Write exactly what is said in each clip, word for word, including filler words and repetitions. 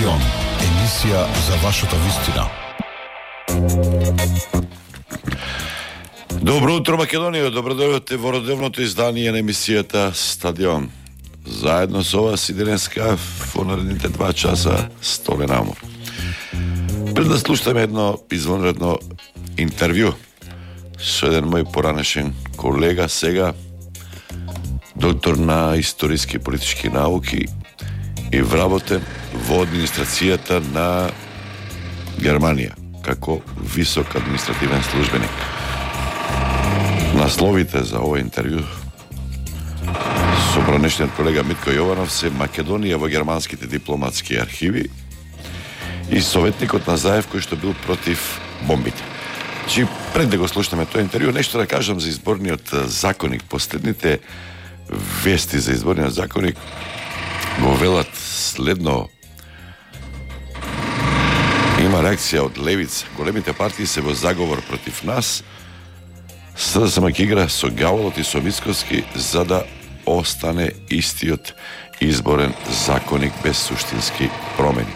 Стадион, емисија за вашата вистина. Добро утро, Македонија, добродојдовте во родовното издание на емисијата Стадион. Заедно со вас и денеска во наредните два часа Столе Намо. Пред да слушаме едно извонредно интервју со еден мој поранешен колега, сега доктор на историски и политички науки и вработен во администрацијата на Германија како висок административен службеник. Насловите за ова интервју со поранешниот колега Митко Јованов се Македонија во германските дипломатски архиви и советникот на Заев кој што бил против бомбите. Чи пред да го слушаме тој интервју, нешто да кажам за изборниот законник. Последните вести за изборниот законник го велат следно. Има реакција од левица. Големите партии се во заговор против нас. СДСМ ќе игра со Гаволот и со Мицкоски за да остане истиот изборен законник без суштински промени.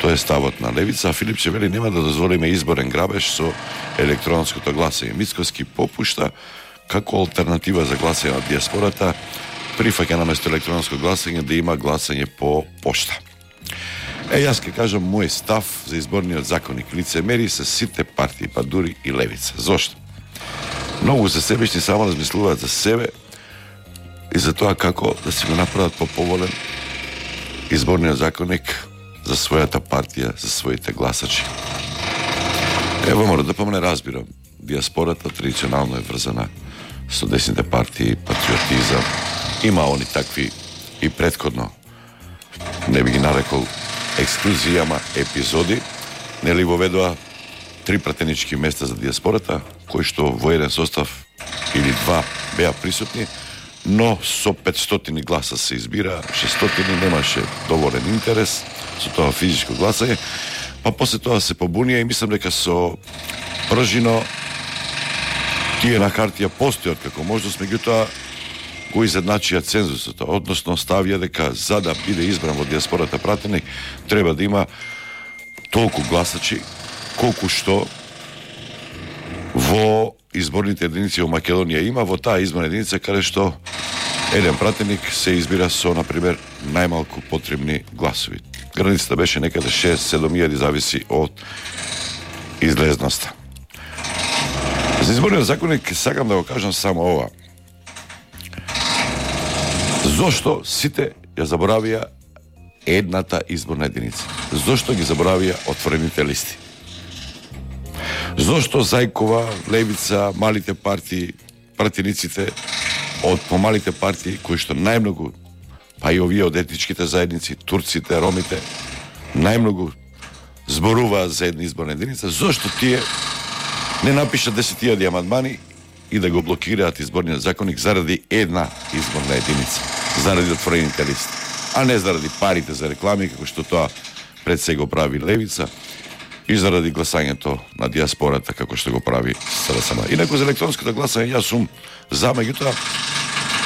Тоа е ставот на левица, а Филипче вели нема да дозволиме изборен грабеж со електронското гласање. Мицкоски попушта како алтернатива за гласање на диаспората, прифаќа наместо електронско гласање да има гласање по пошта. Е, јас ќе кажам мој став за изборниот законник. Лицемери се сите партии, па дури и левица. Зошто? Многу се себични, само размислуваат за себе и за тоа како да си го направат поповолен изборниот законник за својата партија, за своите гласачи. Ево мора да помне разбирам. Диаспората традиционално е врзана со десните партии, патриотизам. Има они такви и претходно. Не би ги нарекол ексклузии, ама епизоди. Нели воведоа три пратенички места за диаспората, кои што во еден состав или два беа присутни, но со петстотини гласа се избира, шестстотини немаше доволен интерес со тоа физичко гласање, па после тоа се побунија и мислам дека со пржино тие на хартија постојат како можност, меѓутоа го изедначија цензусот, односно ставија дека за да биде избран во диаспората пратеник треба да има толку гласачи колку што во изборните единици во Македонија има, во таа изборна единица каде што еден пратеник се избира со, например, најмалку потребни гласови. Границата беше некаде шест-седум илјади, зависи од излезноста. За изборниот законник сакам да го кажам само ова. Зошто сите ја заборавија едната изборна единица? Зошто ги заборавија отворените листи? Зошто Зајкова, левица, малите партии, пратениците од помалите партии, кои што најмногу, па и овие од етничките заедници, турците, ромите, најмногу зборуваат за една изборна единица, зошто тие не напишат десет илјади амандмани и да го блокираат изборниот законник заради една изборна единица, заради отворените листи, а не заради парите за реклами, како што тоа пред се го прави левица, и заради гласањето на диаспората, како што го прави СДСМ. Инаку за електронското гласање јас сум за, меѓутоа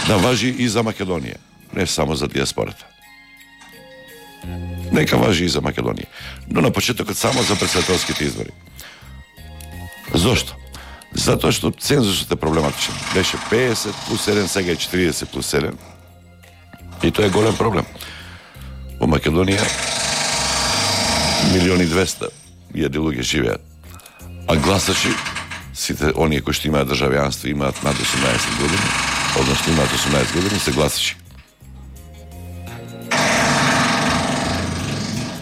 да важи и за Македонија, не само за диаспората. Нека важи и за Македонија, но на почетокот само за претседателските избори. Зошто? Затоа што цензусот е проблематичен. Беше педесет плюс еден, сега е четиридесет плюс еден. И тоа е голем проблем. Во Македонија милиони и двеста илјади луѓе живеат. А гласачи, сите оние кои што имаат државјанство, имаат над осумнаесет години, односно имаат осумнаесет години, се гласачи.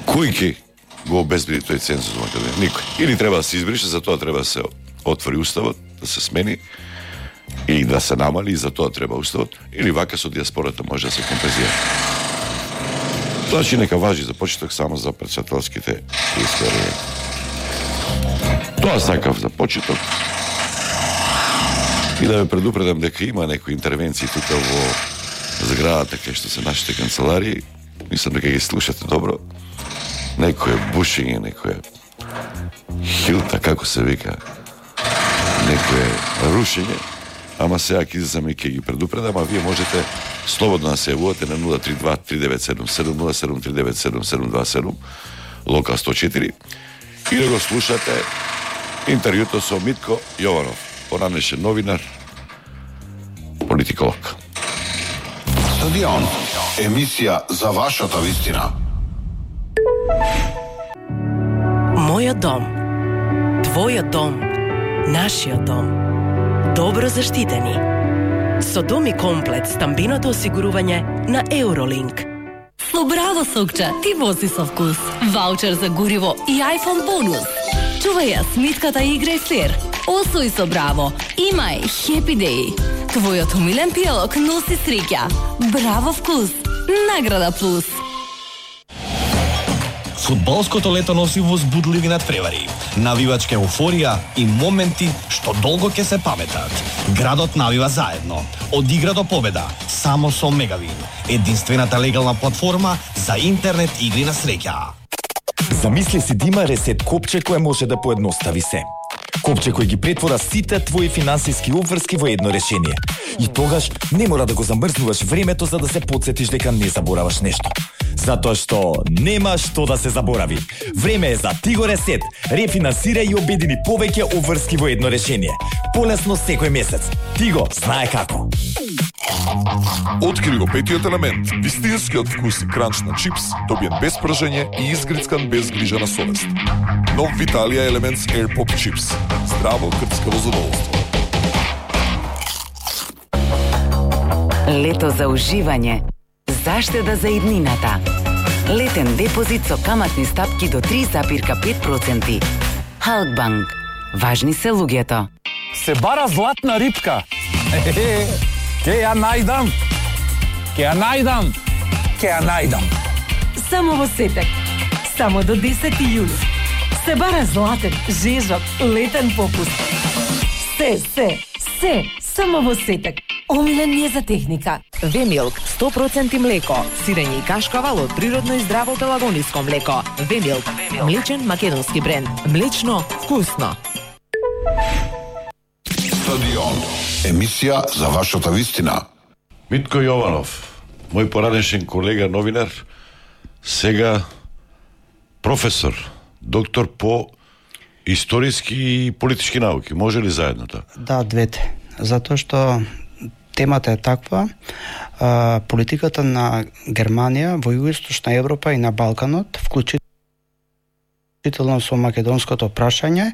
Кој ќе го обезбеди тој цензус во Македонија? Никој. Или треба да се избрише, за тоа треба да се отвори уставот, да се смени и да се намали, и за тоа треба уставот, или вака со диаспората може да се компензира. Значи нека важи за почеток само за претседателските избори. Тоа сакав за почеток. И да ве предупредам дека има некои интервенции тука во зградата кај што се нашите канцеларии. Мислам дека ги слушате добро. Некој бушење, некој хилта, како се вика, некој рушење. Ама сега ќе излезам и ќе ги предупредам, а вие можете Слободно да се јавувате на нула три два три девет седум седум нула седум три девет седум седум два седум, Лока сто четири, и да го слушате интервјуто со Митко Јованов, поранешен новинар, политиколог. Стадион, емисија за вашата вистина. Мојот дом, твојот дом, нашиот дом. Добро заштитени. Со Дом и комплет стамбиното осигурување на Eurolink. Со Браво сокча ти вози со вкус. Ваучер за гориво и iPhone бонус. Чувај ја смитката и играј флер. Освој со Браво. Имај Happy Day. Твојот умилен пијалок носи среќа. Браво вкус. Награда плюс. Фудбалското лето носи возбудливи надпревари, навивачка еуфорија и моменти што долго ќе се паметат. Градот навива заедно, од игра до победа, само со Мегавин, единствената легална платформа за интернет игри на среќа. Замисли си да има ресет копче кое може да поедностави се. Копче кој ги претвора сите твои финансиски обврски во едно решение. И тогаш не мора да го замрзнуваш времето за да се потсетиш дека не забораваш нешто. Затоа што нема што да се заборави. Време е за Тиго Ресет. Рефинансирај и обедини повеќе обврски во едно решение. Полесно секој месец. Тиго знае како. Откри го петиот елемент, вистинскиот вкус и кранч на чипс, добиен без пржење и изгрицкан без грижа на совест. Нов Виталија Елементс Air Pop Chips. Здраво крцкаво задоволство. Лето за уживање. Заштеда за иднината. Летен депозит со каматни стапки до три запирка пет проценти. Халкбанк. Важни се луѓето. Се бара златна рибка. Ке ја најдам. Ке ја најдам. Ке ја најдам. Само во Сетек. Само до десети јули. Се бара златен, жежок, летен попуст. Се, се, се, само во Сетек. Омилен ми е за техника. Вемилк, сто проценти млеко, сирење и кашкавал од природно и здраво пелагониско млеко. Вемилк, млечен македонски бренд. Млечно, вкусно. Стадион, емисија за вашата вистина. Митко Јованов, мој поранешен колега новинар, сега професор, доктор по историски и политички науки. Може ли заедно тоа? Да, двете. Затоа што темата е таква, а, политиката на Германија во Југоисточна Европа и на Балканот, вклучително со македонското прашање,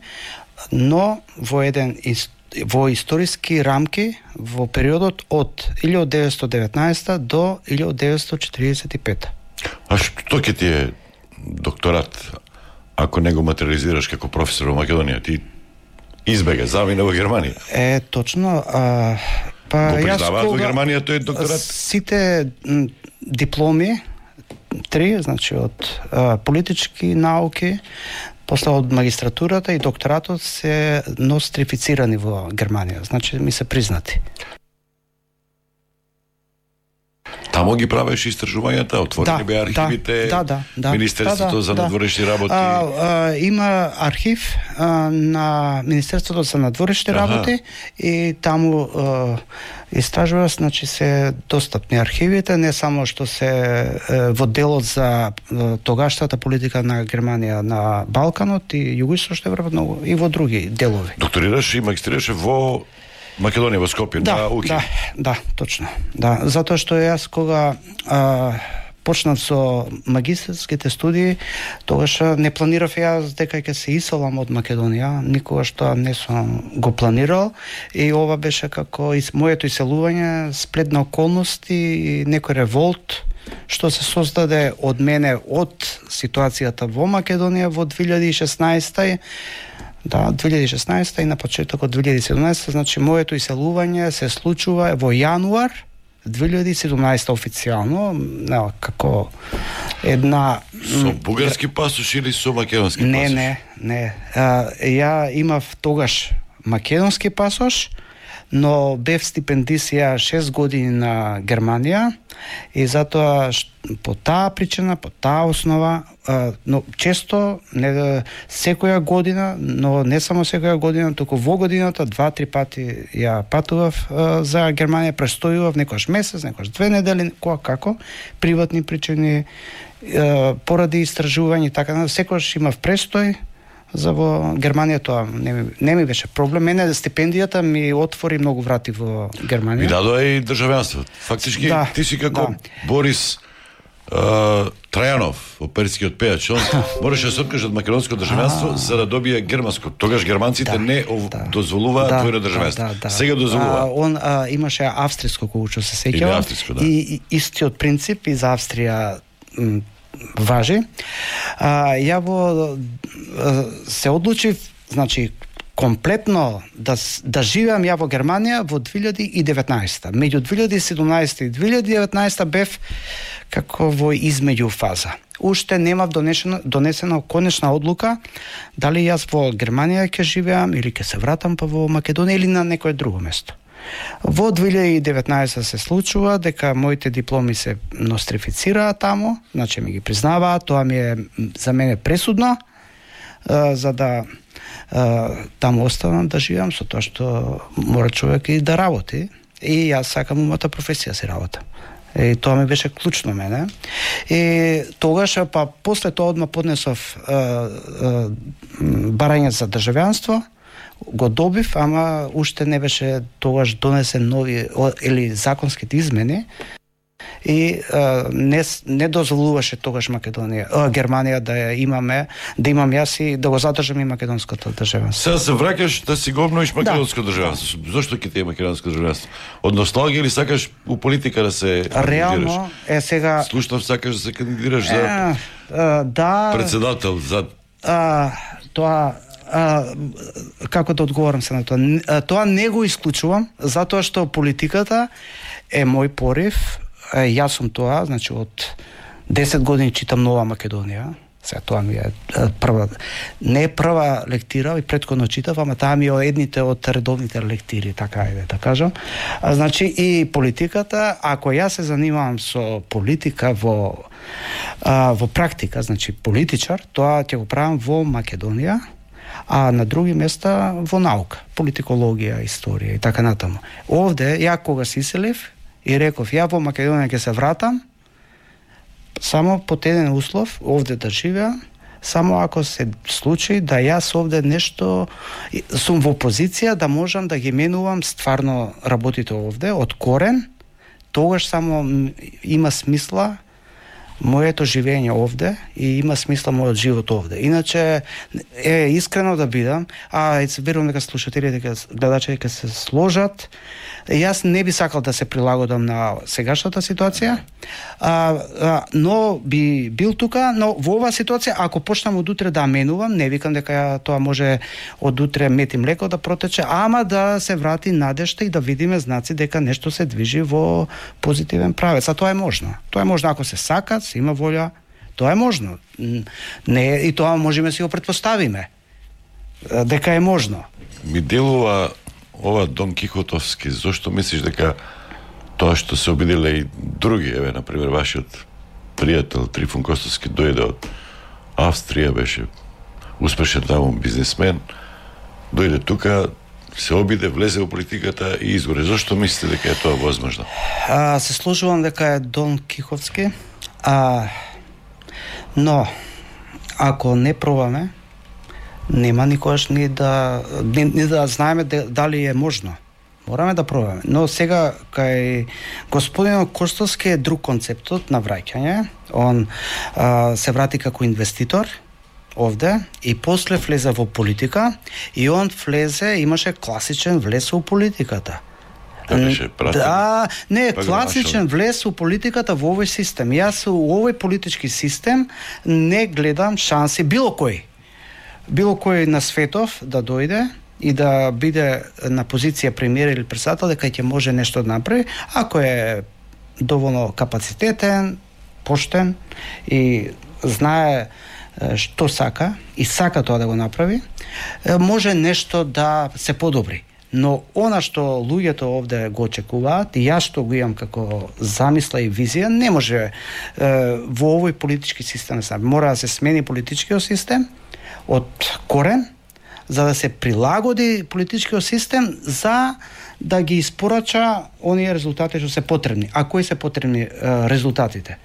но во еден во историски рамки во периодот од илјадесетстотини и деветнаесета до илјадесетстотини и четиридесет и пета. А што ќе ти е докторат ако не го материализираш како професор во Македонија? Ти избега, замина во Германија. Е, точно. А, па, го признаваат кога, во Германија тој докторат? Сите м, дипломи, три, значи од а, политички науки, после од магистратурата и докторатот се нострифицирани во Германија, значи ми се признати. Тамо ги правиш истражувањата, отворени да, бе архивите, да, да, да, Министерството да, за да, надворешни работи. А, а, има архив а, на Министерството за надворешни работи и таму а, истражува, значи се достапни архивите, не само што се е, во делот за е, тогашната политика на Германија на Балканот и Југоисточна Европа, но и во други делови. Докторираш и магистрираше во Македонија, во Скопје, да, на УКИ. Да, да, точно. Да, затоа што јас кога а, почнав со магистерските студии, тогаш не планирав јас дека ќе се иселам од Македонија, никогаш тоа не сум го планирал и ова беше како и моето иселување, сплет на околности и некој револт што се создаде од мене од ситуацијата во Македонија во две илјади и шеснаесета. Да, две илјади и шеснаесета и на почетокот две илјади и седумнаесета, значи моето иселување се случува во јануар две илјади и седумнаесета официјално, не, како една со бугарски пасош или со македонски не, пасош? Не, не, не. Ја имав тогаш македонски пасош, но бев стипендисија шест години на Германија и затоа по таа причина, по таа основа а, но често не секоја година, но не само секоја година, туку во годината два-три пати ја патував а, за Германија, престојував некојаш месец, некојаш две недели, која како, приватни причини, а, поради истражување и така, секојаш имав престој. За во Германија тоа не ми, не ми беше проблем. Мене стипендијата ми отвори многу врати во Германија. И дадоа и државјанство. Фактички да, ти си како да. Борис uh, Трајанов, оперскиот пејач. Он мораше да се откаже од македонско државјанство за да добие германско. Тогаш германците да, не ов... да. дозволуваа да, твојно државјанство. Да, да, да. Сега дозволува. А, он а, имаше австриско, кога се сеќавам. Да. И, и истиот принцип и за Австрија м, важи. А, ја во се одлучив, значи комплетно да да живеам ја во Германија во две илјади и деветнаесета. Меѓу две илјади и седумнаесета и две илјади и деветнаесета бев како во измеѓу фаза. Уште немав донесено донесена конечна одлука дали јас во Германија ќе живеам или ќе се вратам па во Македонија или на некое друго место. Во две илјади и деветнаесета се случува дека моите дипломи се нострифицираа таму, значи ми ги признаваат, тоа ми е за мене пресудно, а, за да а, таму останам да живеам, со тоа што мора човек и да работи. И јас сакам умата професија си работам. И тоа ми беше клучно мене. И тогаш, па после тоа одма поднесов а, а, барање за државјанство, го добив, ама уште не беше тогаш донесен нови или законските измени и а, не не дозволуваше тогаш Македонија, а, Германија да ја имаме, да имам јас и да го задржам и македонското државенство. Сега се враќаш да си го обновиш македонско да. државенство. Зошто ќе ти е македонско државенство? Од носталгија или сакаш у политика да се реално е сега слушнав сакаш да се кандидираш за е, а, да председател за а, тоа А, како да одговорам се на тоа? А, тоа не го исклучувам, затоа што политиката е мој порив. А, јас сум тоа, значи од десет години читам Нова Македонија. Сега тоа ми е прва, не е прва лектира, и претходно читав, ама таа ми е едните од редовните лектири, така е да кажам. А, значи и политиката, ако јас се занимавам со политика во а, во практика, значи политичар, тоа ќе го правам во Македонија, а на други места во наука, политикологија, историја и така натаму. Овде, ја кога се иселив и реков, ја во Македонија ќе се вратам, само под еден услов, овде да живеам, само ако се случи да јас овде нешто сум во позиција да можам да ги менувам стварно работите овде, од корен, тогаш само има смисла моето живење овде и има смисла мојот живот овде. Иначе е искрено да бидам, а се верувам дека слушателите, дека гледачите ќе се сложат. Јас не би сакал да се прилагодам на сегашната ситуација, а, а, но би бил тука, но во оваа ситуација, ако почнам од утре да менувам, не викам дека тоа може од утре мет и млеко да протече, ама да се врати надежта и да видиме знаци дека нешто се движи во позитивен правец. А тоа е можно. Тоа е можно ако се сака, се има волја, тоа е можно. Не, и тоа можеме да си го претпоставиме дека е можно. Ми делува ова Дон Кихотовски, зошто мислиш дека тоа што се обиделе и други, еве, например, вашиот пријател Трифун Костовски дојде од Австрија, беше успешен таму бизнесмен, дојде тука, се обиде, влезе во политиката и изгоре. Зошто мислите дека е тоа возможно? А, се сложувам дека е Дон Кихотски, а, но ако не пробаме, нема никогаш ни да ни, ни да знаеме дали е можно. Мораме да пробаме. Но сега кај господин Костовски е друг концептот на враќање. Он а, се врати како инвеститор овде и после влезе во политика и он влезе, имаше класичен влез во политиката. Да, не, класичен влез во политиката во овој систем. Јас во овој политички систем не гледам шанси било кој. Било кој на светов да дојде и да биде на позиција премиер или председател, дека ќе може нешто да направи, ако е доволно капацитетен, поштен и знае што сака и сака тоа да го направи, може нешто да се подобри. Но она што луѓето овде го очекуваат, и јас што го имам како замисла и визија, не може е, во овој политички систем. Мора да се смени политичкиот систем од корен, за да се прилагоди политичкиот систем за да ги испорача оние резултати што се потребни. А кои се потребни е, резултатите?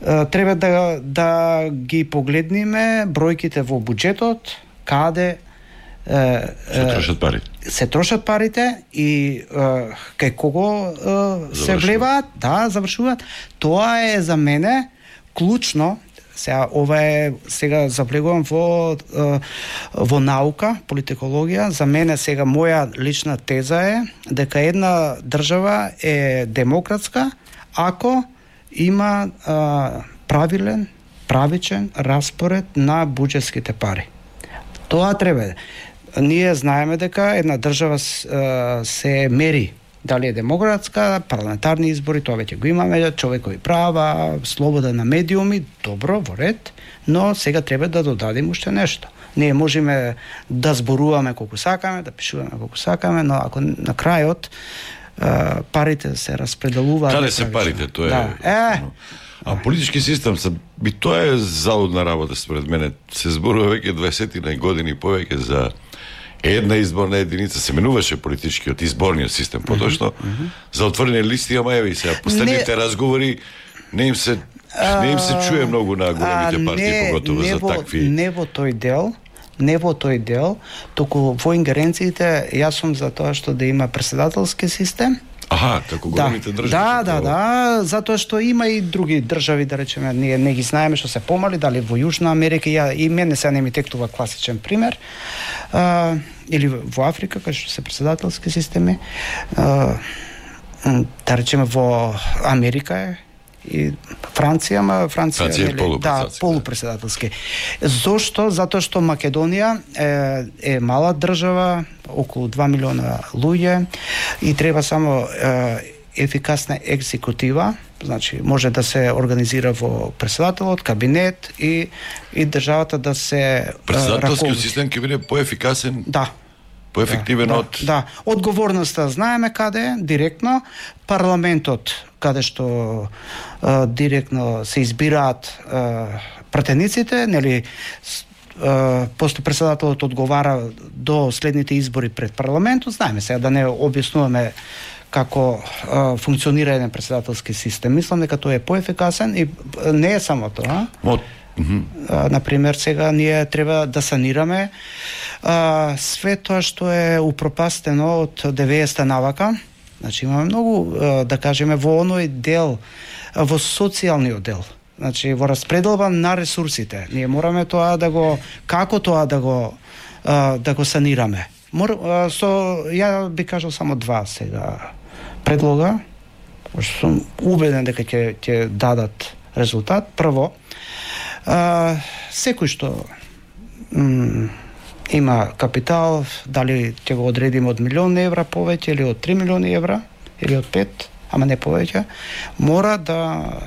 Е, треба да, да ги погледниме бројките во буџетот, каде е, се трошат парите. Се трошат парите и е, кај кого е, се влеваат, да, завршуваат. Тоа е за мене клучно. Сега ова е, сега завлегувам во во наука, политикологија. За мене сега моја лична теза е дека една држава е демократска ако има а, правилен, правичен распоред на буџетските пари. Тоа треба. Ние знаеме дека една држава а, се мери дали е демократска, парламентарни избори, тоа веќе го имаме, човекови права, слобода на медиуми, добро, во ред, но сега треба да додадим уште нешто. Ние можеме да зборуваме колку сакаме, да пишуваме колку сакаме, но ако на крајот парите се распределуваат... Каде се парите? Тоа е... Да. Е, А политички систем, би тоа е залудна работа според мене. Се зборува веќе дваесет години повеќе за една изборна единица, се менуваше политичкиот изборниот систем, поточно mm -hmm. за отворени листи, ама еве сега последните не... разговори не им се не им се чуе многу на големите партии, поготово за такви. Не во тој дел, не во тој дел, туку во ингеренциите јас сум за тоа што да има претседателски систем. Аха, како големите да, држави. Да, да, да, затоа што има и други држави, да речеме, ние не ги знаеме што се помали, дали во Јужна Америка, ја, и мене сега не ми тектува класичен пример, а, или во Африка, кај што се претседателски системи, а, да речеме во Америка е, и Франција, ама Франција, Франција е нели, да, полупредседателски. Зошто? Затоа што Македонија е, е мала држава, околу два милиона луѓе и треба само е, ефикасна екзекутива, значи може да се организира во претседателот, кабинет и и државата да се претседателскиот систем ќе биде поефикасен. Да. Поефективен да, од... Да, одговорноста знаеме каде е, директно. Парламентот, каде што а, директно се избираат а, пратениците, нели, а, после претседателот одговара до следните избори пред парламентот. Знаеме сега, да не објаснуваме како а, функционира еден претседателски систем. Мислам дека тој е поефикасен и не е само тоа. Мот Mm-hmm. А, например, сега ние треба да санираме а, све тоа што е упропастено од деветдесетта навака. Значи имаме многу, а, да кажеме, во оној дел, а, во социјалниот дел. Значи во распределба на ресурсите. Ние мораме тоа да го, како тоа да го а, да го санираме. Мор, а, со ја би кажал само два сега предлога, што сум убеден дека ќе ќе дадат резултат. Прво, А, секој што м, има капитал, дали ќе го одредиме од милион евра повеќе или од три милиони евра или од пет, ама не повеќе, мора да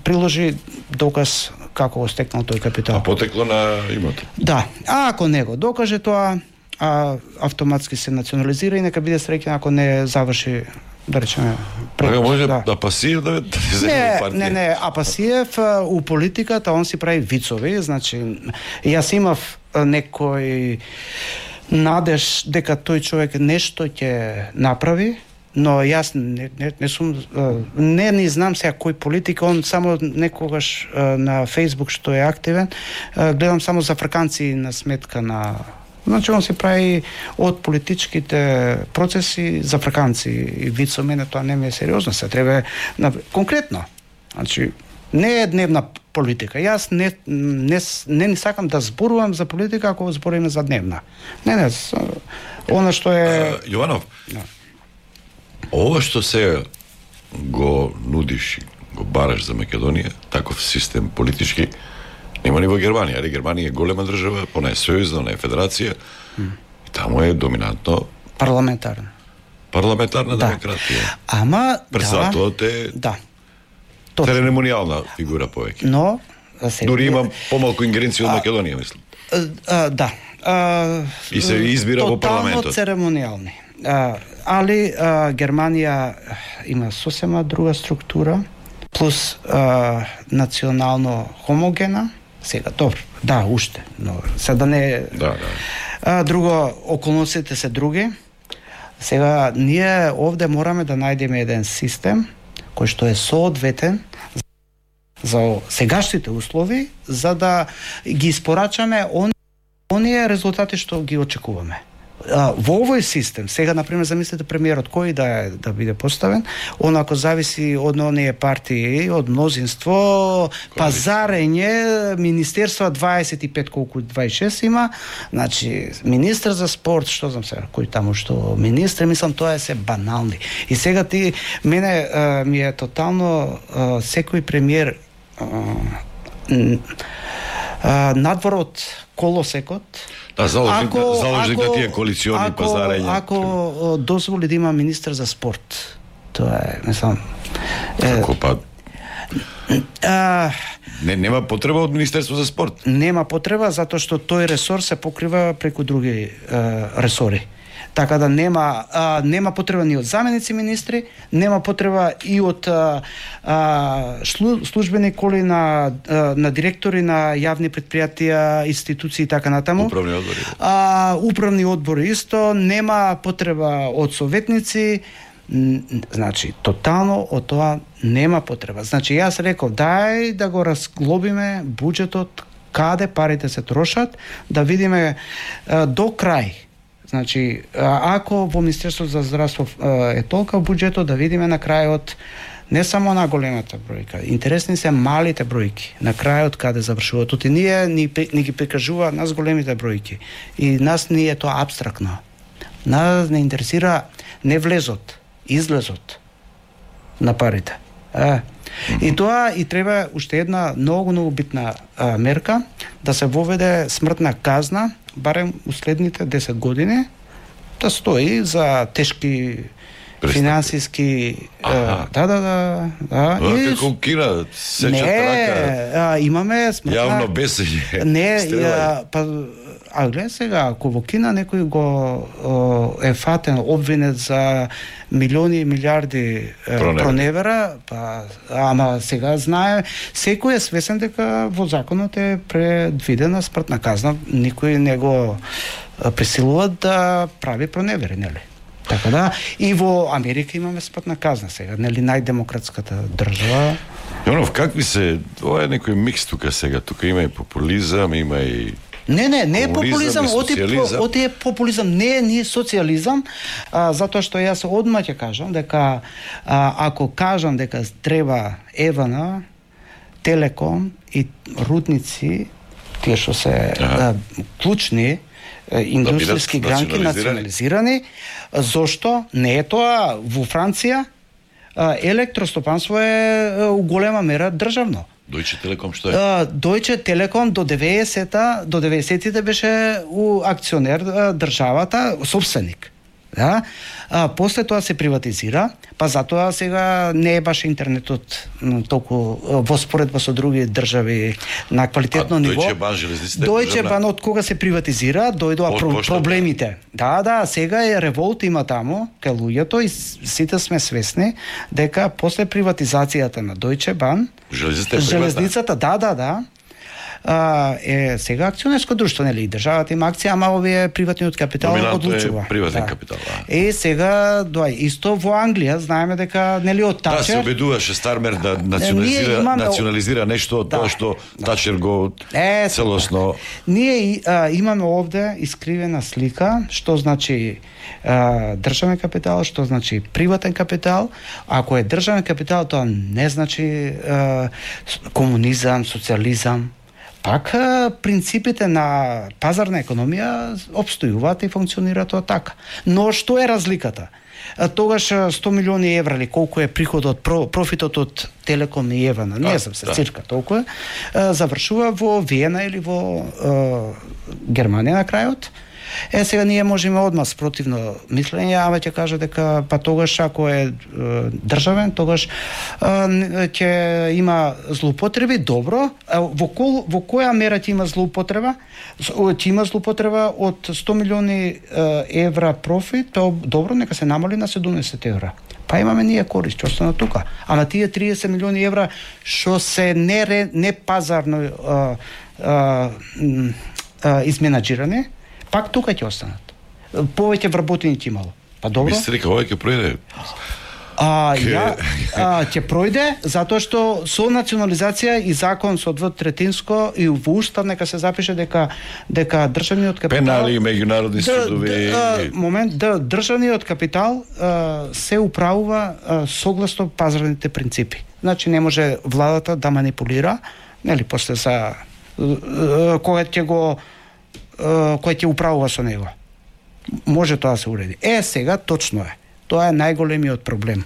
приложи доказ како го стекнал тој капитал. А потекло на имот. Да, а ако не го докаже тоа, а, автоматски се национализира и нека биде среќен ако не заврши, да речеме, пред, може да. Апасиев да не, не, не, Апасиев у политиката он си прави вицови, значи јас имав некој надеж дека тој човек нешто ќе направи, но јас не, не, не сум не не знам сега кој политик, он само некогаш на Facebook што е активен, гледам само за фраканци на сметка на. Значи, он се прави од политичките процеси за фраканци и вицо, мене тоа не ми е сериозно, се треба на, конкретно. Значи, не е дневна политика. Јас не не не, не сакам да зборувам за политика ако збориме за дневна. Не, не, она што е... А, Јованов, да. Ова што се го нудиш, го бараш за Македонија, таков систем политички, нема ни во Германија, али Германија е голема држава, она е сојузна, она е федерација, mm. и таму е доминантно парламентарна. Парламентарна да. демократија. Ама председателот е да. церемонијална фигура повеќе. Но се... дури има помалку ингеренција од Македонија, мислам. А, а, да. А, и се избира во парламентот. Тотално церемонијални. а, али а, Германија има сосема друга структура, плюс а, национално хомогена. Сега, добро, да, уште, но сега да не... Да, да. А, друго, околностите се други. Сега, ние овде мораме да најдеме еден систем кој што е соодветен за сегашните услови, за да ги испорачаме он, оние резултати што ги очекуваме. А, во овој систем, сега, например, замислете премиерот кој да е, да биде поставен, он ако зависи од оние партии, од мнозинство, пазарење, министерства дваесет и пет колку дваесет и шест има, значи, министр за спорт, што знам сега, кој таму што министр, мислам, тоа е се банални. И сега ти, мене а, ми е тотално а, секој премиер а, а, надвор од колосекот. Да, заложник, ако, заложник ако, на тие коалициони ако, пазарења. Ако дозволи да има министр за спорт, тоа е, мислам... Како па... А, не, нема потреба од Министерство за спорт. Нема потреба, затоа што тој ресор се покрива преку други а, ресори. Така да нема а, нема потреба ни од заменици министри, нема потреба и од а, а, службени коли на а, на директори на јавни предпријатија, институции и така натаму. Управни одбори. А, управни одбори исто, нема потреба од советници. Значи, тотално од тоа нема потреба. Значи, јас реков, дај да го разглобиме буџетот, каде парите се трошат, да видиме а, до крај. Значи, ако во Министерството за здравство е толка буџетот, да видиме на крајот не само на големата бројка, интересни се малите бројки, на крајот каде завршуваат. Оти ние ни, ни ги прикажуваат нас големите бројки и нас ни е тоа абстрактно. Нас не интересира не влезот, излезот на парите. Е. И тоа и треба уште една многу многу битна а, мерка, да се воведе смртна казна барем уследните десет години, да стои за тешки финансиски а, да да да да а, и како кина сечат рака. А, имаме смртна јавно бесење. Не, а, па а гледа сега, ако во Кина некој го о, е фатен, обвинет за милиони и милиарди Проневера. проневера, па ама сега знае, секој е свесен дека во законот е предвидена смртна казна, никој не го пресилува да прави проневери, нели? Така да, и во Америка имаме смртна казна сега, нели, најдемократската држава. Јонов, какви се, ова е некој микс тука сега, тука има и популизам, има и Не, не, не е популизам, оти, оти е популизам, не е ни социализам, а, затоа што јас одма ќе кажам дека а, ако кажам дека треба Евана, Телеком и рудници, тие што се а, клучни индустријски да гранки национализирани, зошто не е тоа во Франција? Електростопанство е у голема мера државно. Deutsche Telekom што е? Uh, Deutsche Telekom до деветдесета до деветдесетите беше у акционер државата, собственик. Да? А, после тоа се приватизира, па затоа сега не е баш интернетот толку во споредба со други држави на квалитетно а, ниво. Deutsche Bahn железниците. Deutsche Bahn од кога се приватизира, дојдоа про, проблемите. Да, да, сега е револт има таму кај луѓето и сите сме свесни дека после приватизацијата на Deutsche Bahn, железницата, да, да, да. А, е сега акционерско друштво, нели, државата има акција, ама овие приватниот капитал одлучува. Е приватен да. капитал, да. Е сега, доај, исто во Англија, знаеме дека нели од Тачер. Да, се обидуваше Стармер да национализира, имаме... национализира нешто од да, тоа што да. Тачер го е, целосно. Ние а, имаме овде искривена слика што значи а, државен капитал, што значи приватен капитал. Ако е државен капитал, тоа не значи а, комунизам, социализам. Пак принципите на пазарна економија обстојуваат и функционираат тоа така. Но што е разликата? Тогаш сто милиони евра или колку е приходот, профитот од Телеком и Евана, не знам се, да. Цирка толку е, завршува во Виена или во е, Германија на крајот. Е, сега ние можеме одма спротивно мислење, ама ќе кажа дека па тогаш ако е, е државен, тогаш е, ќе има злоупотреби, добро. А во, кол, во која мера ќе има злоупотреба? Ќе има злоупотреба од сто милиони евра профит, то добро, нека се намали на седумдесет евра. Па имаме ние корист, што стана тука. Ама тие триесет милиони евра што се не, не пазарно а, а, а, изменаџирани, пак тука ќе останат. Повеќе вработени ќе имало. Па добро. Мислите дека ова ќе пројде? А, Ке... ја, а, ќе пројде, затоа што со национализација и закон со двотретинско и во устав нека се запише дека дека државниот капитал пенали, меѓународни судови. Момент, да, државниот капитал а, се управува а, согласно пазарните принципи. Значи не може владата да манипулира, нели после за кога ќе го кој ќе управува со него. Може тоа да се уреди. Е, сега точно е. Тоа е најголемиот проблем.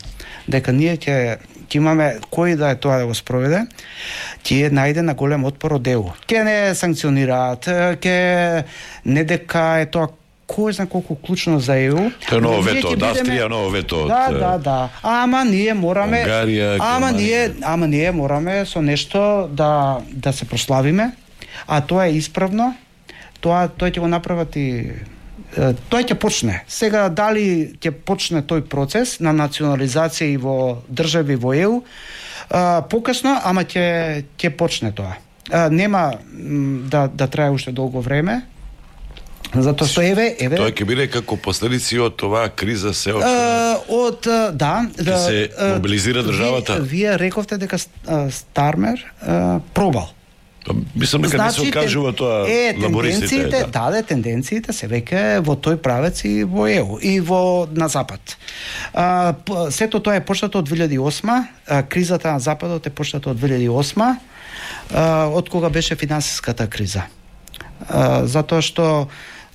Дека ние ќе ќе имаме кој да е тоа да го спроведе, ќе најде на голем отпор од Е У. Ќе не санкционираат, ќе не дека е тоа кој знае колку клучно за Е У. Тоа е ново вето од Австрија, ново вето од Да, да, да. Ама ние мораме Унгарија, ама ние ама ние мораме со нешто да да се прославиме, а тоа е исправно. Тоа тој ќе го направат и тој ќе почне. Сега дали ќе почне тој процес на национализација и во држави во Е У, а, покасно, ама ќе ќе почне тоа. А, нема да да трае уште долго време. Затоа што еве, еве Тоа ќе биде како последици од оваа криза се од од да, да се мобилизира државата. Вие, вие рековте дека Стармер а, пробал. Мислам дека не се откажува тоа е, лабористите. Да, да, да, тенденциите се веќе во тој правец и во Е У и во на запад. А, сето тоа е почнато од две илјади и осма, а, кризата на западот е почната од две илјади и осма, а, од кога беше финансиската криза. А, затоа што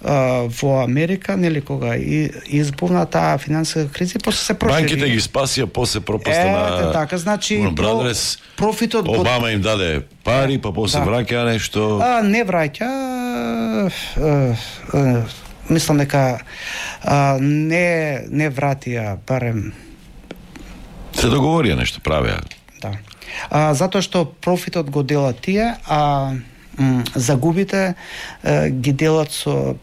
Uh, во Америка, нели, кога и, избувна таа финансиска криза, после се прошири. Банките ги спасија, после пропаста на... Е, така, значи... Brothers, профитот... Обама им даде пари, па после да. враќа нешто... А, не враќа... А, а, мислам дека а, не, не вратија, барем... Се договорија нешто, правеа. Да. А, затоа што профитот го делат тие, а... загубите е, ги делат со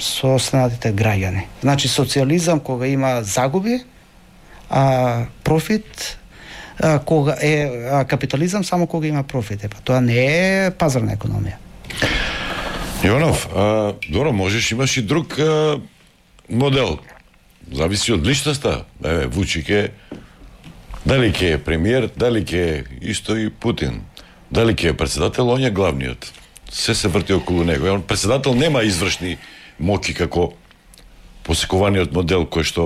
со останатите граѓани. Значи социјализам кога има загуби, а профит а, кога е а, капитализам само кога има профит. Па тоа не е пазарна економија. Иванов, а, добро, можеш имаш и друг а, модел. Зависи од личноста. Еве Вучиќ дали ќе е премиер, дали ќе е исто и Путин. Дали ќе е председател, он е главниот. Се се врти околу него. Он председател нема извршни моки како посекуваниот модел кој што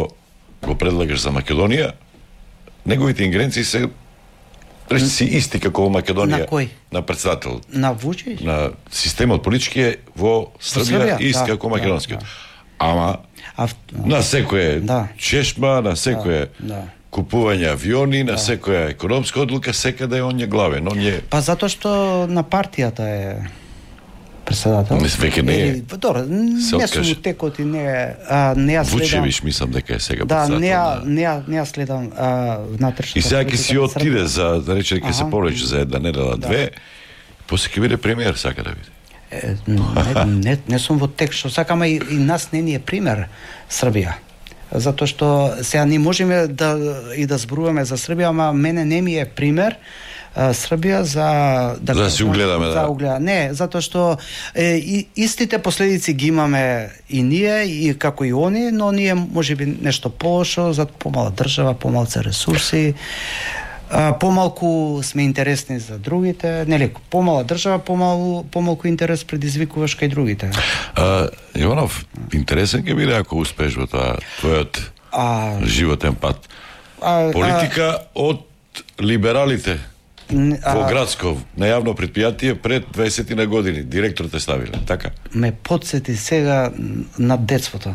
го предлагаш за Македонија. Неговите ингеренции се речиси исти како во Македонија. На кој? На председател. На Вучиќ? На системот политички е во Србија ист како да, македонскиот. Да, да. Ама а, на секој да. чешма, на секој да, да. купување авиони, на да. секоја економска одлука, секаде он е главен, он е... Па затоа што на партијата е председател. Не веќе не е. Добро, не сум у текот и не а, не ја следам. Вучевич мислам дека е сега да, председател. Да, не ја на... не ја не ја следам внатрешната. И сега ќе си отиде за да рече дека се повлече за една недела две, после ќе биде премиер, сака да биде. Е, не, не, не сум во тек што сакаме и, и нас не ни е пример Србија. Затоа што сега не можеме да и да зборуваме за Србија, ама мене не ми е пример а, Србија за да да си угледаме за да. Угледа. Не, затоа што е, и, истите последици ги имаме и ние и како и они, но ние можеби нешто полошо, за помала држава, помалце ресурси. А, помалку сме интересни за другите, нели, помала држава, помалку, помалку интерес предизвикуваш кај другите. А, Иванов, интересен ќе биде ако успеш во тоа твојот а, животен пат. А, Политика а, од либералите а, во градско, на јавно предпријатие пред дваесет на години, директор те ставиле, така? Ме подсети сега на детството.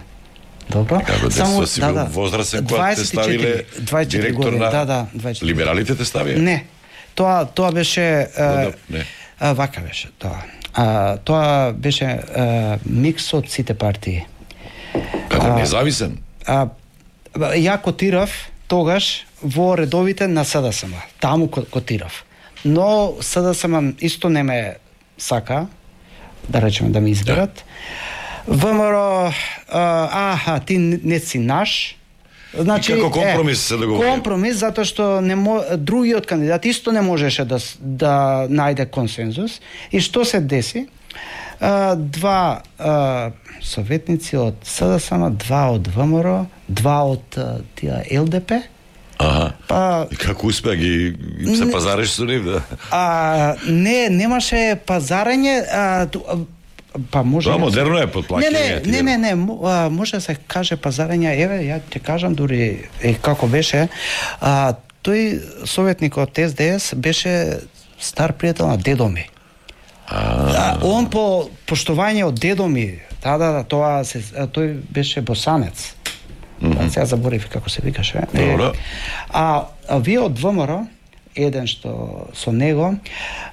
Добро. Како детство си бил да, возрастен кога те ставиле директор на... Да, да, дваесет и четири. Либералите те ставија? Не. Тоа тоа беше... Да, да, не. А, вака беше тоа. А, тоа беше а, микс од сите партии. Како независен? А, ја котирав тогаш во редовите на СДСМ. Таму котирав. Но СДСМ исто не ме сака, да речеме да ме изберат. ВМРО, аха, ти не си наш. Значи, и како компромис е, се договорија? Компромис, затоа што не мо, другиот кандидат исто не можеше да, да најде консензус. И што се деси? А, два а, советници од СДСМ, два од ВМРО, два од а, тия ЛДП. Аха. Па, и како успеа ги, ги се пазариш со нив, да? А, не, немаше пазарење, а, па може... Тоа модерно е подплакање. Не, не, не, не, не, може да се каже пазарење, еве, ја ќе кажам дури е, како беше. А, тој советник од Ес Де Ес беше стар пријател на дедо ми. А, он по поштување од дедо ми, да, да, да, тоа се, тој беше босанец. Mm-hmm. Сега заборев како се викаше. Добро. А, а вие од ВМРО, еден што со него,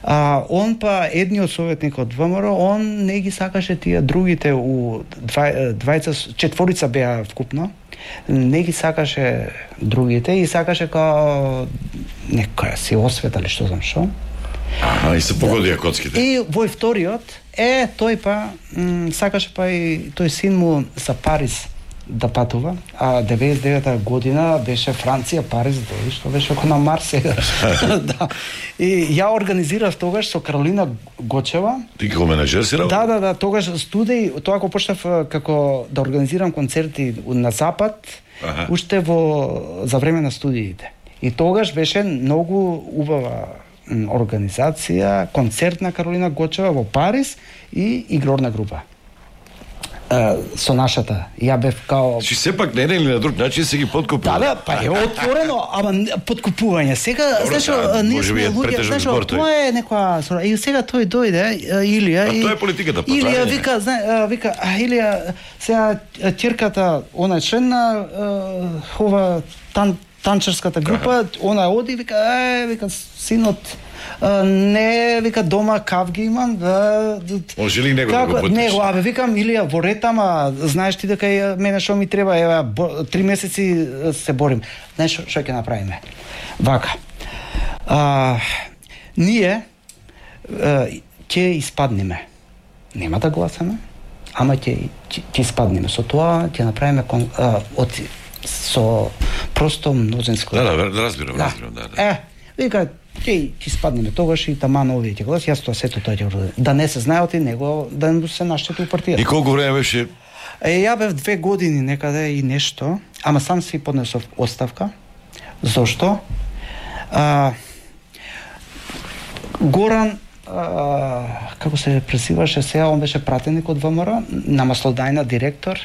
а, он па едниот советник од ВМРО, он не ги сакаше тие другите у двај, двајца, четворица беа вкупно, не ги сакаше другите и сакаше као некоја си освета или што знам што. Аха, и се погодија коцките. И во вториот, е, тој па, м, сакаше па и тој син му за Париз да патува, а деветдесет и девета година беше Франција, Париз, дојде, што беше око на Марс сега. Да. И ја организирав тогаш со Каролина Гочева. Ти како менеджер си работи? Да, да, да, тогаш студеј, тоа го почнав како да организирам концерти на Запад, ага, уште во за време на студиите. И тогаш беше многу убава организација, концерт на Каролина Гочева во Париз и игрорна група. Со нашата. Ја бев као... Чи сепак не или на друг начин се ги подкупува? Да, да, па е отворено, ама подкупување. Сега, знаеш, ние сме луѓе, знаеш, тоа е некоја... И сега тој дојде, Илија... А тоа е политиката, па Илија вика, зна, вика, а Илија, сега ќерката, она е член на ова тан, танчерската група, она оди, вика, е, вика, синот, не, вика, дома кавги имам, да... Он жели него да го потиш. Него, абе, викам, Илија, во ред, ама, знаеш ти дека мене шо ми треба, ева, три месеци се борим. Знаеш шо ќе направиме? Вака, а, ние ќе испаднеме. Нема да гласаме, ама ќе ќе испаднеме. Со тоа ќе направиме од со просто мнозинско. Да, да, разбирам, да, разбирам, да, да. Е, вика, ќе ќе спаднеме тогаш и таман овие ќе глас, јас тоа сето тоа ќе уродам. Да не се знае од него, да не се наштети у партијата. И колку време беше? Е, ја бев две години некаде и нешто, ама сам си поднесов оставка. Зошто? А, Горан, а, како се презиваше сега, он беше пратеник од ВМРО, на Маслодајна директор.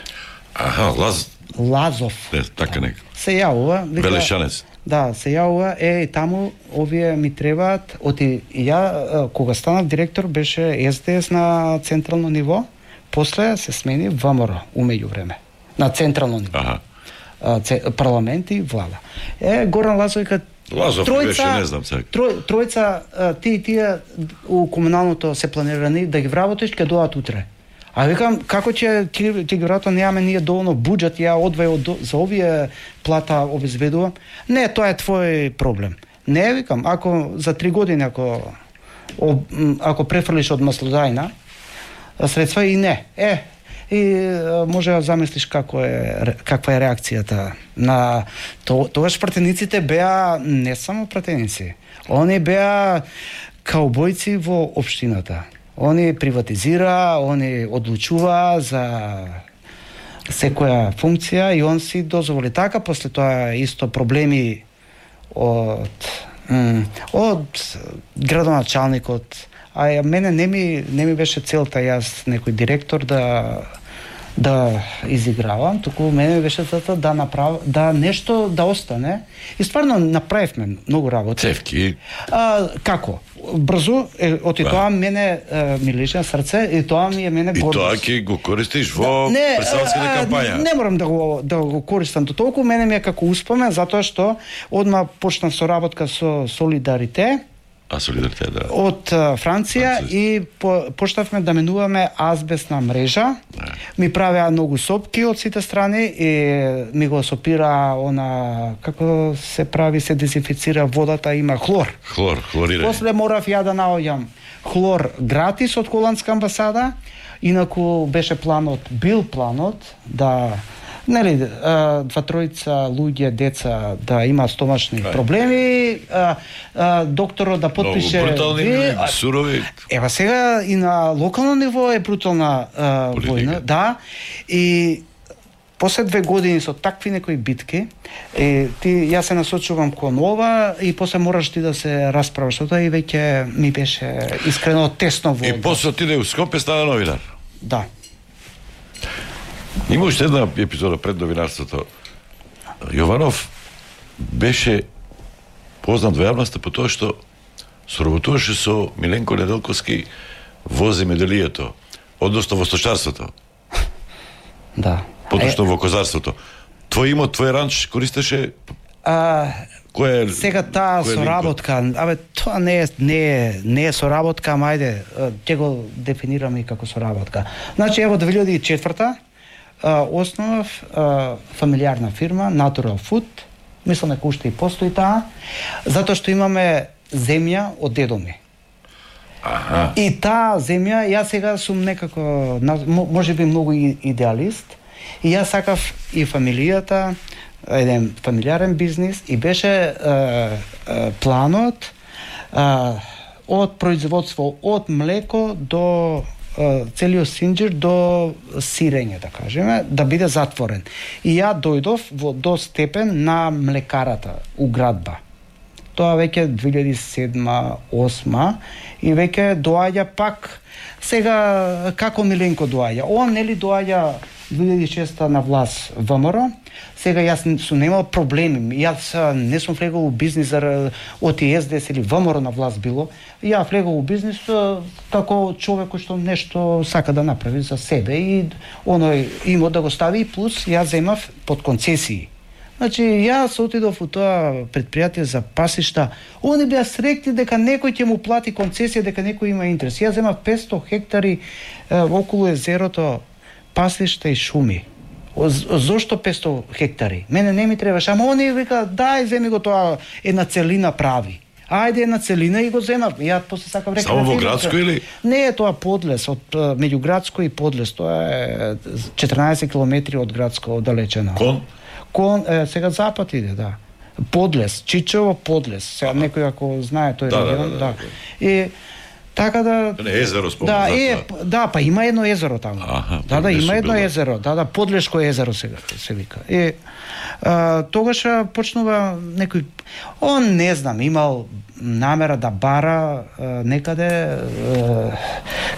Аха, Лаз... Лазов. Не, така нека. Се јавува. Вика, Белешанец. Да, се јавува, е, и таму овие ми требаат, оти ја, кога станав директор, беше Ес Де Ес на централно ниво, после се смени ВМРО, умеѓу време, на централно ниво. Аха. А, це, парламент и влада. Е, Горан Лазов вика, Лазов тројца, беше, не знам сега. Трој, тројца, ти и тие у комуналното се планирани да ги вработиш, ќе доаат утре. А викам, како ќе ти, ти веројатно немаме ние доволно буџет, ја одвај за овие плата обезбедувам. Не, тоа е твој проблем. Не, викам, ако за три години ако ако префрлиш од Маслодајна средства и не. Е, и може да замислиш како е каква е реакцијата на то, тогаш пратениците беа не само пратеници. Они беа каубојци во општината. Они приватизира, они одлучува за секоја функција и он си дозволи така, после тоа исто проблеми од од градоначалникот. А мене не ми не ми беше целта јас некој директор да да изигравам, туку мене беше целта да направам да нешто да остане. И стварно направивме многу работи. Цевки. А, како? Брзо, е, оти да. Тоа мене е, ми лежи на срце и тоа ми е мене гордост. И тоа ќе го користиш во да, председателската кампања. Не, не морам да го да го користам до толку, мене ми е како успомен затоа што одма почнав соработка со Солидарите А Солидаритет, да. Од а, Франција Француз. и по, почнавме да менуваме азбестна мрежа. Да. Ми правеа многу сопки од сите страни и ми го сопира она како се прави, се дезинфицира водата, има хлор. Хлор, хлорирање. После морав ја да наоѓам хлор гратис од холандска амбасада, инаку беше планот, бил планот да нели два тројца луѓе, деца да има стомачни проблеми, а, а, докторот да потпише. Многу брутални, сурови. Ева сега и на локално ниво е брутална а, војна, да. И после две години со такви некои битки, е, ти јас се насочувам кон ова и после мораш ти да се расправаш со тоа и веќе ми беше искрено тесно во. И после отиде у Скопје, стана новинар. Да. Има уште една епизода пред новинарството. Јованов беше познат во јавноста по тоа што соработуваше со Миленко Неделковски во земјоделието, односно во сточарството. Да. Поточно во козарството. Твој имот, твој ранч користеше? А, кој е сега таа соработка, абе тоа не е не е не е соработка, ама ајде ќе го дефинираме и како соработка. Значи ево две илјади и четврта основав фамилиарна фирма Natural Food. Мислам дека уште и постои таа, затоа што имаме земја од дедо ми. Аха. И таа земја, јас сега сум некако можеби многу идеалист. И јас сакав и фамилијата, еден фамилиарен бизнис, и беше е, е, планот е, од производство од млеко до е, целиот синџир до сирење, да кажеме, да биде затворен. И ја дојдов во до степен на млекарата у Градба. Тоа веќе две илјади и седма осма и веќе доаѓа пак сега како Миленко доаѓа. Он нели доаѓа две илјади и шеста на власт ВМРО. Сега јас сум немал проблеми. Јас не сум влегол у бизнис од Е С Д С или ВМРО на власт било. Ја влегол у бизнис како човек кој што нешто сака да направи за себе и оној имот да го стави, плюс ја земав под концесии. Значи, јас отидов у тоа предпријатие за пасишта, они беа срекни дека некој ќе му плати концесија, дека некој има интерес. Јас земав петсто хектари е, околу езерото, пасишта и шуми. Зошто петсто хектари? Мене не ми требаше, ама они вика, дај, земи го тоа, една целина прави. Ајде една целина и го земав. Ја после сакав река. Само во Градско или? Не е тоа Подлес, од меѓу Градско и Подлес, тоа е четрнаесет километри од Градско оддалечено. Кон? Кон, е, сега запад иде, да. Подлес, Чичево, Подлес. Сега некој ако знае тој да, регион, да, да. да, да. И така да Не езеро спомнам. Да, е, да, па има едно езеро таму. Аха, да, да, има едно било. езеро. Да, да, Подлешко езеро сега се вика. И а, тогаш почнува некој, он не знам, имал намера да бара а, некаде а,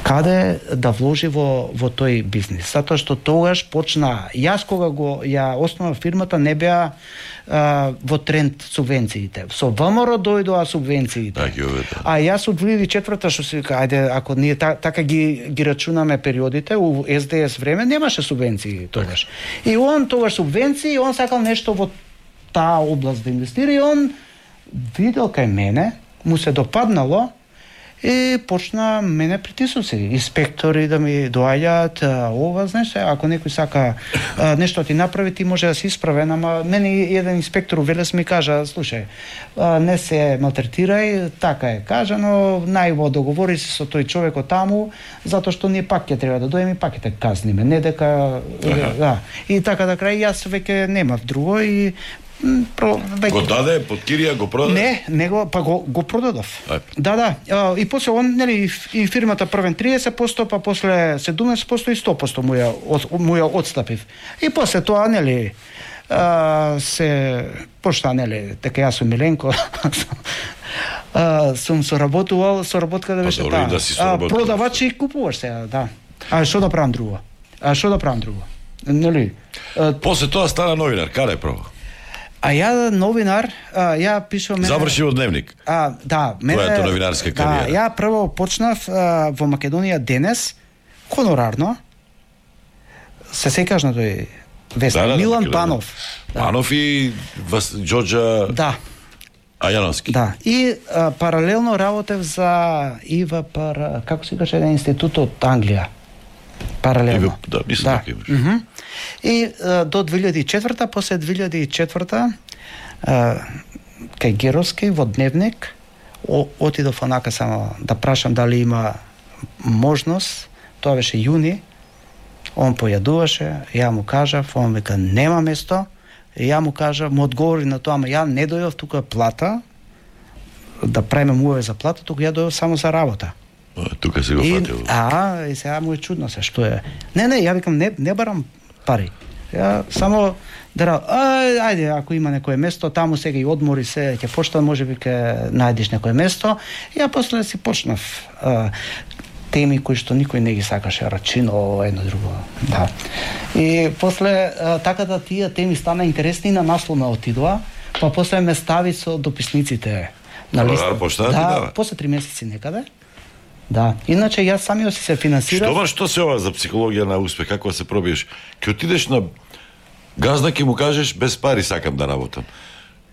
каде да вложи во во тој бизнис. Затоа што тогаш почна, јас кога го ја основав фирмата не беа а, во тренд субвенциите. Со ВМРО дојдоа субвенциите. Да, ги уведе. А јас од две илјади и четврта што се вика, ајде ако ние та, така ги ги рачунаме периодите, у С Д С време немаше субвенции тогаш. И он тогаш субвенции, он сакал нешто во таа област да инвестира и он видел кај мене, му се допаднало и почна мене притисуци, инспектори да ми доаѓаат, ова, знаеш, ако некој сака а, нешто ти направи, ти може да се исправен, ама мене еден инспектор у Велес ми кажа, слушај, а, не се малтретирај, така е кажано, најво договори се со тој човекот таму, затоа што ние пак ќе треба да дојдеме и пак ќе те казниме, не дека да. И така да крај јас веќе немав друго и Про, веќе... Го даде под кирија, го продаде? Не, не го, па го, го продадов. Ај. Да, да. А, и после он, нели, и фирмата првен триесет проценти, па после седумдесет проценти и сто проценти му ја, од, му ја отстапив. И после тоа, нели, а, се пошта, нели, дека јас сум Миленко, а, сум соработувал, соработка да беше таа. Да а, продавач и купуваш сега, да. А што да правам друго? А што да правам друго? Нели? А, после тоа стана новинар, каде прво? А ја новинар, а, ја пишувам... Заврши од Дневник. А, да, мене... Твојата новинарска кариера. Да, ја прво почнав а, во Македонија денес, хонорарно. Се секаш на тој вестник. Да, да, Милан да, Панов. Да. Панов и Вас, Џоџа... Да. А Јановски? Да. И а, паралелно работев за ИВА пара, како се каже, еден институт од Англија. Паралелно. Иве, да, мислам дека имаш. Mm -hmm. И а, до две илјади и четврта, после две илјади и четврта, а, кај Геровски во Дневник, о, отидов онака само да прашам дали има можност, тоа беше јуни, он појадуваше, ја му кажав, он века нема место, и ја му кажав, му одговори на тоа, ама ја не дојдов тука плата, да правиме муаве за плата, тука ја дојдов само за работа. Тука се го фатил. А, и сега му е чудно се, што е. Не, не, ја викам, не, не барам пари. Ја само да, ај, ајде, ако има некое место, таму сега и одмори се, ќе почнам, можеби ќе најдеш некое место. Ја после си почнав а, теми кои што никој не ги сакаше, рачино, едно друго. Да. И после а, така да тие теми стана интересни, на наслов ме отидоа, па после ме стави со дописниците на листа. Да, да, после три месеци некаде. Да, иначе јас самиот си се финансирав. Што што се ова за психологија на успех, како се пробиеш? Ќе отидеш на газда, ќе му кажеш без пари сакам да работам.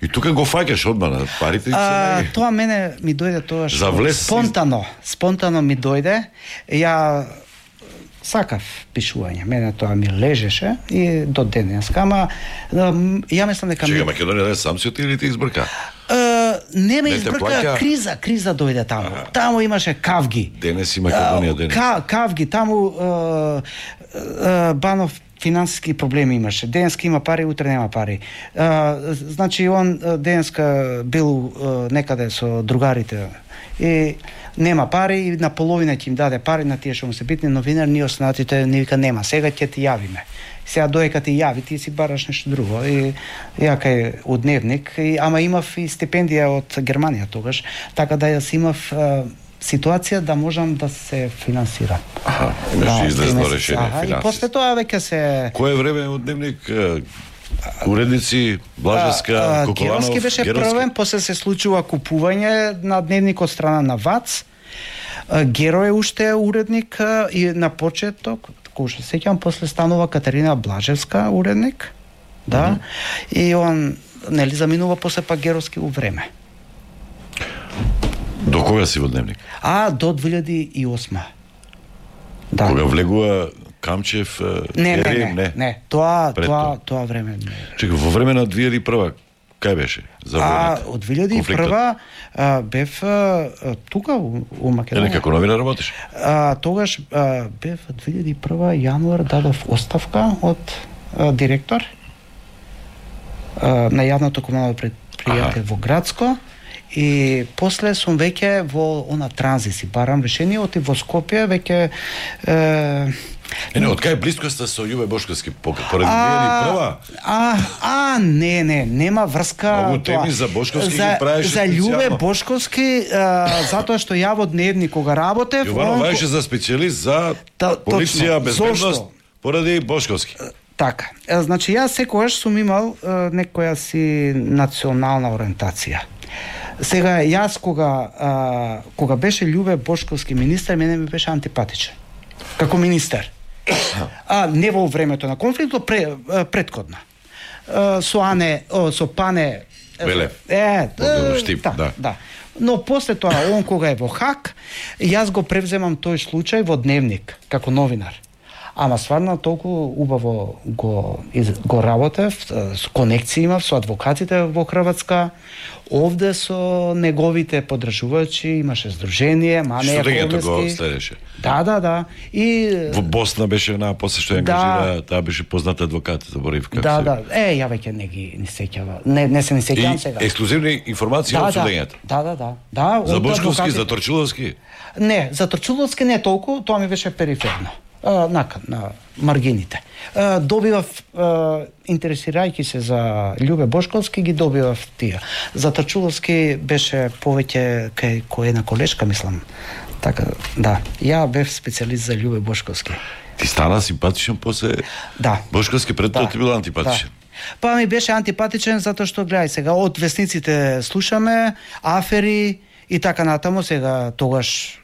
И тука го фаќаш одма на парите. А, тоа мене ми дојде тоа што влез... спонтано, спонтано ми дојде. Ја сакав пишување, мене тоа ми лежеше и до денеска, ама ја мислам дека Чека, Македонија да сам си отиде или ти избрка? Uh, не ме не избрка, плаќа... криза, криза дојде таму. Ага. Таму имаше кавги. Денес и Македонија денес. Ка, кавги, таму uh, uh, Банов финансиски проблеми имаше. Денеска има пари, утре нема пари. Uh, значи он денеска бил uh, некаде со другарите и нема пари и на половина ќе им даде пари на тие што му се битни новинар, ние останатите ни вика нема, сега ќе ти јавиме. Сега доека ти јави, ти си бараш нешто друго. И ја кај од Дневник, и, ама имав и стипендија од Германија тогаш, така да јас имав а, ситуација да можам да се финансирам. Аха, имаш да, излезно решение финансиски. И после тоа веќе се... Кое време од Дневник? Уредници, Блажевска, Коколанов, Геровски беше Геровски. првен, после се случува купување на Дневник од страна на ВАЦ. Геро е уште уредник и на почеток, кој што сеќам, после станува Катерина Блажевска уредник. Да. Mm -hmm. И он нели заминува после пак Геровски у време. До кога си во Дневник? А до две илјади и осма. Да. Кога влегува Камчев, не, Ери, не, не, не, не, тоа, тоа, тоа време не. Чекай, во време на две илјади и прва, кај беше? За а, од две илјади и прва а, бев а, тука у, у Македонија. Еле, како новинар работиш? А, тогаш а, бев две илјади и прва јануар дадов оставка од а, директор а, на јавното комунално предпријатие во Градско. И после сум веќе во она транзиси, барам решение, оти во Скопје веќе е, Е, не, од кај блискоста со Љубе Бошковски, поради две илјади и прва? А, а, не, не, нема врска. Многу теми за Бошковски за, ги правеше за Љубе Бошковски, а, затоа што ја во Дневник кога работев, Јовано он... беше за специјалист за Та, полиција, точно. безбедност, Зошто? поради Бошковски. Така. Е, значи, јас секогаш сум имал е, некоја си национална ориентација. Сега, јас кога, а, кога беше Љубе Бошковски министер, мене ми беше антипатичен. Како министер. А не во времето на конфликтот, пре, предходна. Со Ане, о, со Пане Велев. Е, е штип, да, да. да. Но после тоа, он кога е во Хак, јас го превземам тој случај во Дневник, како новинар. Ама стварно толку убаво го го работев, со конекции имав со адвокатите во Хрватска, овде со неговите подржувачи, имаше здружение, Мане Јаковлевски. Што го следеше? Да, да, да. И во Босна беше една после што ја ангажира, да, таа беше позната адвокат, заборив како да, се. Да, да. Е, ја веќе не ги не сеќава. Не, не се не сеќавам сега. И ексклузивни информации да, од судењето. Да, да, да. Да, за Бошковски, за Торчуловски? Не, за Торчуловски не толку, тоа ми беше периферно. Uh, нака, на маргините. Uh, добивав, uh, интересирајќи се за Љубе Бошковски, ги добивав тие. За Торчуловски беше повеќе кај кој една колешка, мислам. Така, да. Ја бев специјалист за Љубе Бошковски. Ти стана симпатичен после... Да. Бошковски пред тоа да. ти бил антипатичен. Да. Па ми беше антипатичен затоа што, гледај сега, од весниците слушаме, афери и така натаму, сега тогаш...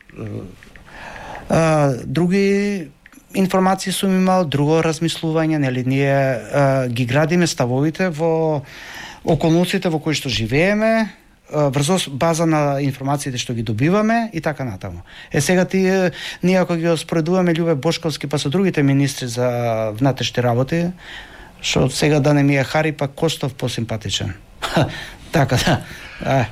Uh, други информации сум имал, друго размислување, нели ние а, ги градиме ставовите во околностите во кои што живееме, врз база на информациите што ги добиваме и така натаму. Е сега ти ние ако ги споредуваме Љубе Бошковски па со другите министри за внатрешни работи, што сега да не ми е Хари па Костов посимпатичен. Така да. А,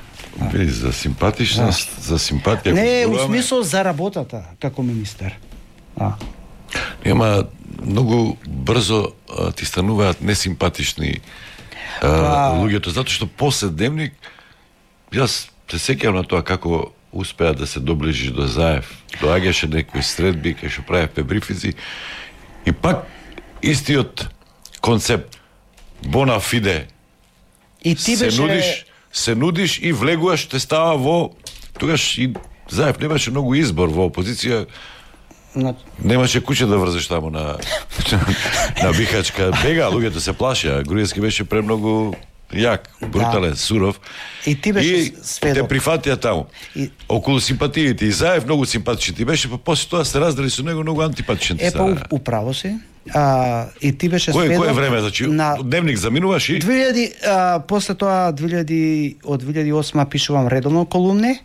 Били за симпатичност, да. За симпатија. Не, у смисол за работата како министер. А. Нема многу брзо а, ти стануваат несимпатични а, а... луѓето, затоа што после дневник јас се сеќавам на тоа како успеа да се доближиш до Заев. Доаѓаше некои средби кај што правевме брифинзи и пак истиот концепт bona fide. И ти се беше... нудиш, се нудиш и влегуваш, те става во тогаш и Заев немаше многу избор во опозиција. На... Немаше куќа да врзеш таму на на Бихачка. Бега, луѓето се плашеа. Груевски беше премногу јак, брутален, да. Суров. И ти беше и сведок. Те прифатија таму. И... Околу симпатиите и Заев многу симпатичен ти беше, па после тоа се раздели со него многу антипатичен ти. Е, па управо си. А, и ти беше кој, сведок. Кој време, значи, на... дневник заминуваш и... две илјади, а, после тоа две илјади, од две илјади и осма пишувам редовно колумни,